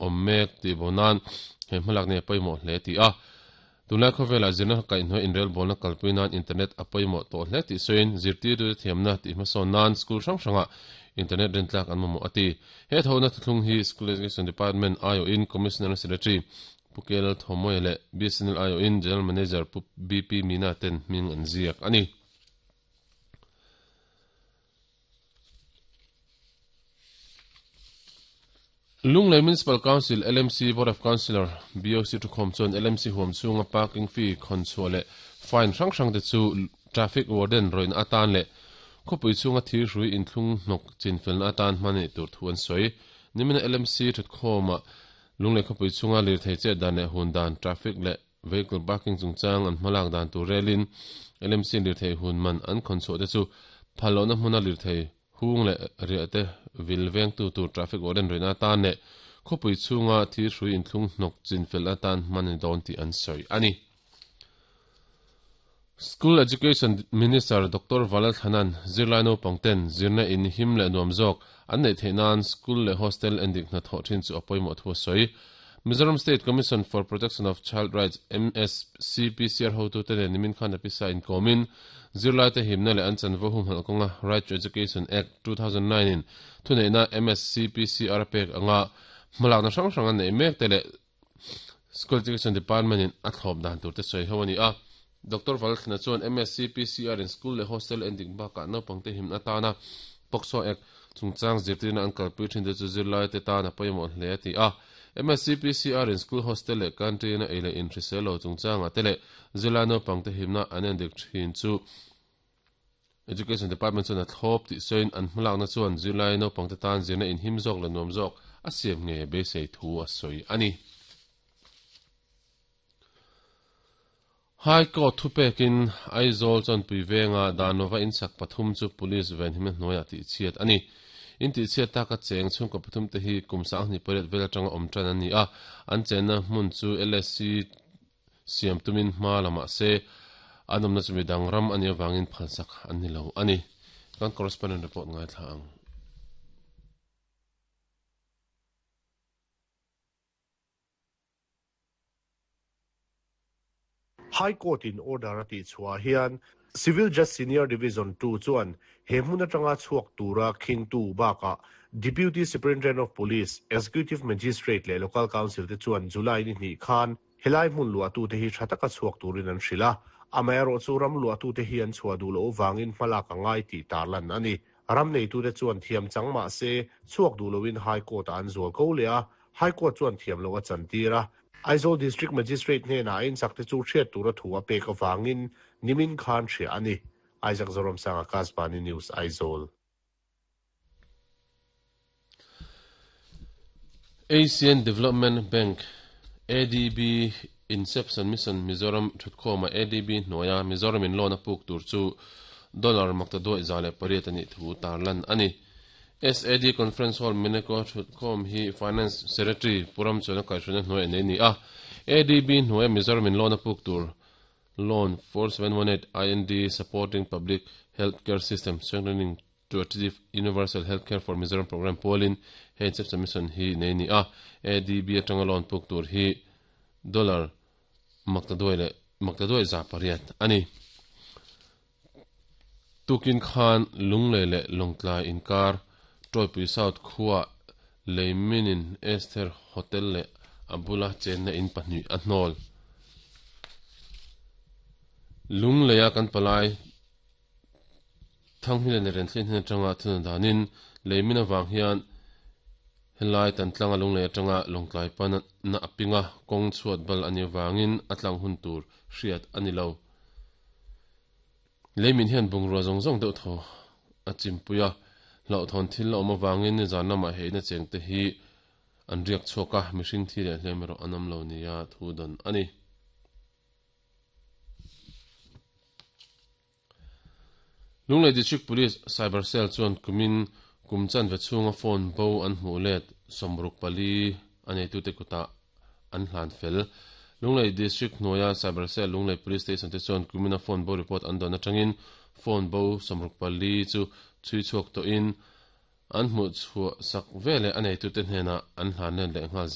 Awm mek tih bo nan he hmalak nei a pawimawh hle tih a. Tunlai khawvelah zirna kaihhnuai inrelbawlna kalpui nan internet a pawimawh tawh hle tih sawiin zirtirtute thiamna tih hmasawn nan school hrang hrangah internet rintlak an mamawh a ti. He thawhna thuthlung hi School Education Department aiawhin Commissioner Secretary Pu KL Thawmawia leh BSNL aiawhin General Manager Pu BP Meena ten hming an ziak a ni. Lunglei Municipal Council, LMC, Board of Councillor, BOC, thukhawm chuan LMC huam chhunga parking fee khawn chhuah leh fine hrang hrang te chu Traffic Warden rawihna atan leh khawpui chhunga thirhrui inthlung hnawk chinfelna atan hman a nih tur thu an sawi. Nimina LMC thutkhawmah Lunglei khawpui chhunga lirthei chet dan leh hun dan, traffic leh Vehicle parking chungchang an hmalak dan tur relin LMC lirthei hun man an khawn chhuah te chu phal lohna hmuna lirthei hung leh riah te vil vengtu tur traffic warden rihna atan leh khawpui chhunga thil hrui inthlung hnawk chin fel atan hman a ni dawn tih an sawi a ni. School Education Minister Doctor Valal Thanan zirlai naupang ten zirna in him leh nuam zawk an neih theih nan school leh hostel endik hna thawh thin chu a pawimawh thu a sawi. Mizoram State Commission for Protection of Child Rights, MSCPCR, hotute nen nimin khan a pisa inkawmin zirlaite himna leh an chanvo humhalh kawnga Right to Education Act, 2009 in thuneihna MSCPCR a pek anga hmalakna hrang hrang an neih mek te leh School Education Department in a thlawp dan tur te sawi ho a ni a. Doctor Valthlina chuan MSCPCR in school leh hostel endik bakah naupangte himna atana POCSO Act chungchang zirtirna an kalpui thin te chu zirlaite tan a pawimawh hle a ti a. MSCPCR in school hostel leh canteen a ei leh in hrisel lo chungchangah te leh zirlai naupangte himna an endik thin chu Education Department chuan a thlawp tih sawiin an hmalakna chuan zirlai naupangte tan zirna inhim zawk leh nuam zawk a siam ngei a beisei thu a sawi a ni. High Court thupekin Aizawl Chawnpui venga Danova insak pathum chu Police venhimna hnuaiah tihchhiat a ni. In tihchhiat taka cheng chhungkaw pathum te hi kum 28 vel atanga awm tan an ni a, an chenna hmun chu LSC siam tumin hma la mah se an awmna chu midang ram a nih avangin phalsak an ni lo a ni. Kan correspondent report ngaithla ang. High Court in order a tih chhuah hian Civil Judge Senior Division ii chuan he hmun atanga chhuak tura khingtu bakah Deputy Superintendent of Police, Executive Magistrate leh Local Council te chuan July ni hnih khan helai hmun luahtute hi tha taka chhuak turin an hrilh a, amaherawhchu ram luahtute hi an chhuah duh loh vangin hmalak a ngai tih tarlan a ni. Ram neitute chuan thiam chang mah se chhuak duh loin High Court-ah an zual ko leh a, High Court chuan thiam loh a chantir a. Aizawl District Magistrate hnenah a inchak te chu hriat tura thu a pek avangin nimin khan hria a ni. Isaac Zoramsanga, Kasbani News, Aizawl. Asian Development Bank, ADB, Inception Mission Mizoram thutkhawma ADB hnuaia Mizoramin loan a puk tur chu dollar maktaduaih 108 a nih thu tarlan a ni. SAD Conference Hall Mineko thutkhawm hi Finance Secretary Pu Ramchuana kaihhruaina hnuai a nei ni a. ADB hnuaia Mizoramin loan a puk tur Loan 4718 IND Supporting Public Health Care System Strengthening to Achieve Universal Health Care for Mizoram Programme pualin he Inception Mission hi nei ni a. ADB atanga loan puk tur hi dollar maktaduai leh maktaduai 800 a ni. Tukin khan Lunglei leh Lawngtlai inkar Tawipui South khuaah Leiminin Esther Hotel leh a bula chenna in pahnih a hnawl. Lungleia kan palai Thanghmila leh Renthlen hnen atanga thuna danin Leimin avang hian helai Tantlanga Lunglei atanga Lawngtlai pana a pinga kawng chhuat bal a nih avangin a tlang hun tur hriat a ni lo. Leimin hian bungrua zawng zawng deuh thaw a chimpui a, hlauhthawn thil a awm avangin nizan lamah he ina chengte hi an riak chhuak a, mihring thi leh hlem erawh an awm lo nia thu dawn a ni. Lunglei District Police Cyber Cell chuan kumin kum chanve chhunga phone bo an hmuh let 64 a neitute kutah an hlan fel. Lunglei District hnuaia Cyber Cell Lunglei Police Station te chuan kumina phone bo report an dawn atangin phone bo 64 chu chhui chhuak tawhin An hmuh chhuah sak veleh a neitute hnenah an hlan let leh nghal zel.